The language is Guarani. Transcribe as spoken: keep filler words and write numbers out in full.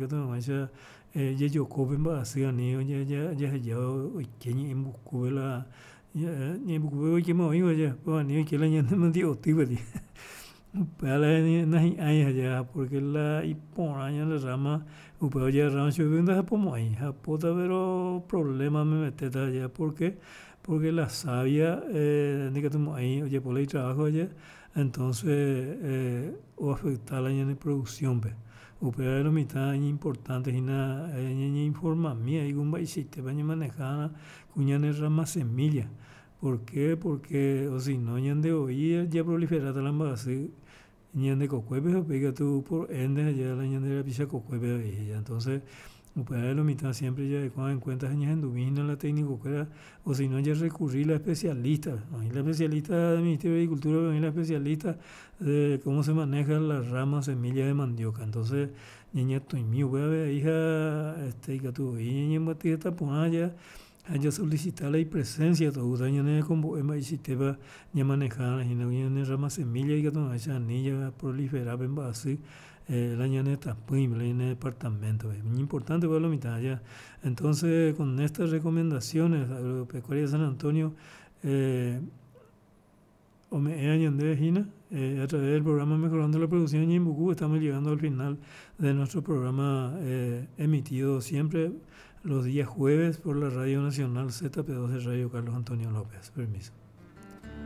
Ikatu hag̃uáicha jejoko pe mba'asy ani jaheja oike ñe'ẽmbukúpe la ñe'ẽmbukúpe oikéma oĩva péva ani oike la ñane mandi'otýpe. Upéva la nahi'ãi aja porque la iporã ñande rama upéva ojeagarrárõ chugui ndahapomo'ãi hapóta pero problema memetéta aja porque porque la savia ndikatumo'ãi ojapo la itrabajo aja entonces oafecta la ñane producción-pe. Upévare lo mitã iñimportante hína ñañeinformami avei ku mba'eichaitépa ñamanejava'erã ku ñane rama semilla. ¿Por qué? Porque osino ñandevoi japroliferáta la mba'asy ñande kokuépe ha upéi katu por ende ha la ñande rapicha kokuépe avei. Entonces upévare lo mitã siempre jareko en cuenta ha ñahendumína la técnico-kuéra osino jarrecurri la especialista-pe, oĩ la especialista del Ministerio de Agricultura-pe oĩ la especialista de cómo se maneja la rama semilla de mandioca entonces ñañatõimi upévape avei ha este ikatuvoi ñañembyaty heta porã ja ha jasolicita la ipresencia tou tañanerekombo'e mba'eichaitépa ñamanejava'erã hína ñane rama semilla ikatu hag̃uáicha ani japrolifera pe mba'asy la ñane retãpýme, la ñane departamento-pe. Iñimportante upéva lo mitã aja. Entonces con estas recomendaciones Agropecuaria San Antonio ome'ẽva ñandéve hína a través del programa Mejorando la Producción Ñeembucú estamos llegando al final de nuestro programa emitido siempre los días jueves por la Radio Nacional Z P dos de Radio Carlos Antonio López. Permiso.